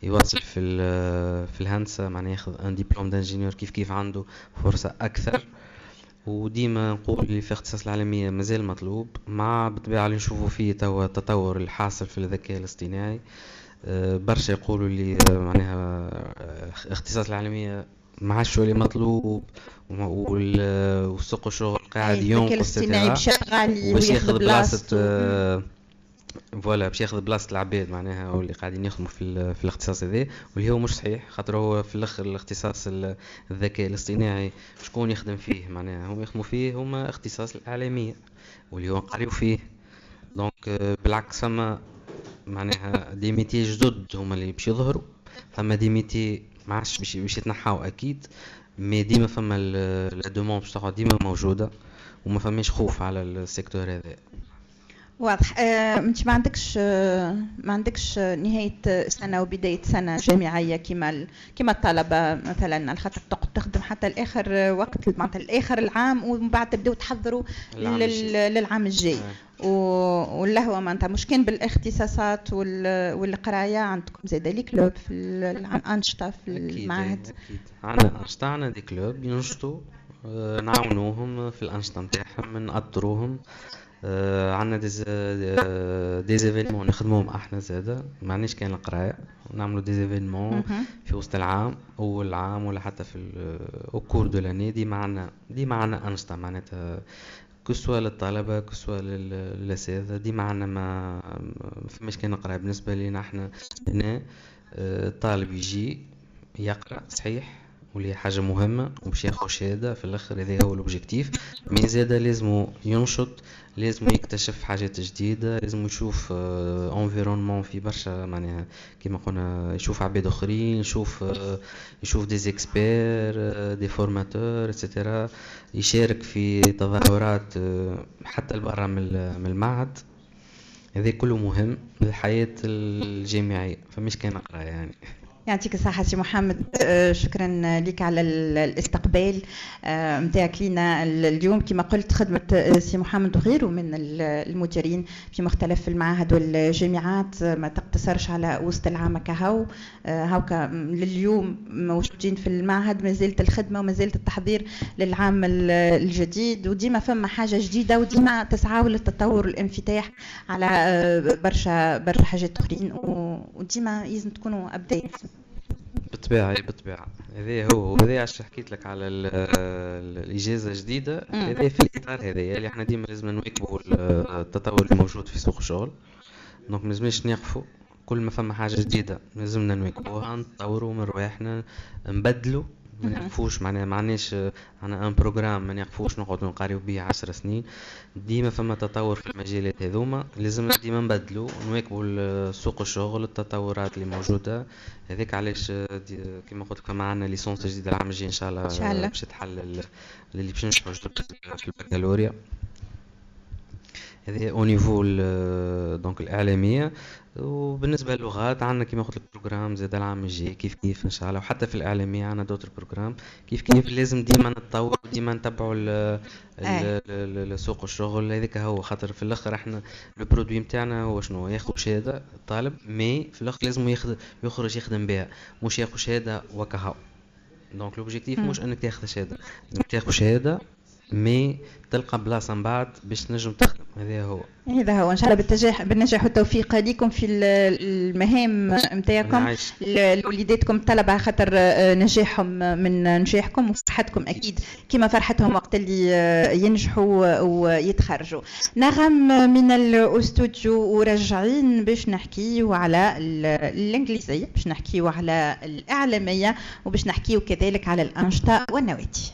يواصل في الهندسة، معناها ياخذ un diplôme d'ingénieur، كيف كيف عنده فرصة اكثر. وديما نقول اللي في اختصاص الاعلامية مازال مطلوب، مع بالطبيعة اللي نشوفوا فيه توا التطور الحاصل في الذكاء الاصطناعي. برشا يقولوا اللي معناها اختصاص الاعلامية ما عادش اللي مطلوب وسوق الشغل قاعد ينقص، الذكاء الاصطناعي باش غالي وياخذ بلاصه، voilà، باش ياخذ بلاصة العباد معناها واللي قاعدين يخدموا في الاختصاص هذا، واللي هو مش صحيح، خاطر هو في الاخر الاختصاص الذكاء الاصطناعي شكون يخدم فيه؟ معناها هم يخدموا فيه هما اختصاص الاعلامية واللي هو قريو فيه. donc بالعكس، فما معناها des métiers جدد هما اللي باش يظهروا، فما des métiers ما عادش باش يتنحاو اكيد، mais ديما فما la demande باش تقعد ديما موجودة وما فماش خوف على ال secteur هذا. واضح. انت ما عندكش نهاية سنة وبداية سنة جامعية كما الطلبة مثلا، على خاطر تقعد تخدم حتى الاخر وقت، معناتها الاخر العام، ومن بعد تبداو تحضروا للعام الجاي. واللهوه معناتها مش كان بالاختصاصات والقرايه، عندكم زاد les clubs في الانشطة في المعهد. اكيد، عندنا انشطه، عندنا des clubs ينشطوا، نعاونوهم في الانشطة نتاعهم، نأطروهم. عندنا des événements نخدموهم احنا زاده، ما عندناش كان القرايه، نعملوا des événements في وسط العام، اول العام ولا حتى في au cours de l'année. ديما عندنا انشطه، معناتها que ce soit للطلبة que ce soit للاساتذه، ديما عندنا، ما فماش كان قرايه. بالنسبة لينا احنا هنا الطالب يجي يقرا صحيح واللي حاجة مهمة وباش ياخذ شهادة في الآخر، هذا هو l'objectif، mais زادا لازمو ينشط، لازم يكتشف حاجات جديدة، لازم يشوف environnement في برشا، معناها كيما قلنا يشوف عباد اخرين، يشوف des experts، des formateurs et cetera، يشارك في تظاهرات حتى البرا من المعهد. هذا كله مهم للحياة الجامعية، فمش كان قراية يعني. يعطيك الصحة سي محمد، شكرا لك على الاستقبال نتاعك لينا اليوم. كما قلت، خدمة سي محمد وغيره من المديرين في مختلف المعاهد والجامعات ما تقتصرش على وسط العام كهو. هاوكا لليوم موجودين في المعهد، ما زالت الخدمة وما زالت التحضير للعام الجديد، وديما فما حاجة جديدة، وديما تسعى للتطور والانفتاح على برشا برشا حاجات أخرين، وديما لازم تكونوا updated. بالطبيعة بالطبيعة، هذا هو، هذا علاش حكيت لك على الإجازة الجديدة. هذا في الإطار هذا اللي احنا ديما لازم نواكبوا التطور الموجود في سوق الشغل، donc ما لازمناش نقفوا. كل ما فما حاجة جديدة لازمنا نواكبوها، نطوروا من رواحنا، نبدلوا، ما نقفوش. معناها ما عندناش عندنا un programme، ما نقفوش نقعدوا نقاريو به 10 سنين. ديما فما تطور في المجالات هذوما، لازم ديما نبدلوا، نواكبوا سوق الشغل، التطورات اللي موجوده. هذاك علاش كيما قلت لك فما عندنا licence جديدة العام الجاي ان شاء الله. ان شاء الله. باش تحل اللي باش ينجحوا في البكالوريا. هذه au niveau donc الاعلاميه. وبالنسبة للغات عندنا كيما قلت لك programme زاد العام الجاي كيف كيف ان شاء الله، وحتى في الاعلامية عندنا d'autres programmes كيف كيف. لازم ديما نتطور، ديما نتبعوا سوق الشغل. هذاك هو، خاطر في الاخر احنا le produit نتاعنا هو شنو؟ ياخذ شهادة الطالب، mais في الاخر لازم ياخذ يخرج يخدم بها، مش ياخذ شهادة وكهو. donc l'objectif مش انك تاخذ شهاده، تاخذ شهادة mais تلقى بلاصة من بعد باش تنجم تخدم. هذا هو. هذا هو. ان شاء الله بالنجاح والتوفيق لكم في المهام نتاعكم، لوليداتكم الطلبه، خاطر نجاحهم من نجاحكم، وفرحتكم اكيد كما فرحتهم وقت اللي ينجحوا ويتخرجوا. نغم من الاستوديو ورجعين باش نحكيو على الانجليزيه، باش نحكيو على الاعلاميه، وباش نحكيو كذلك على الانشطة والنوادي.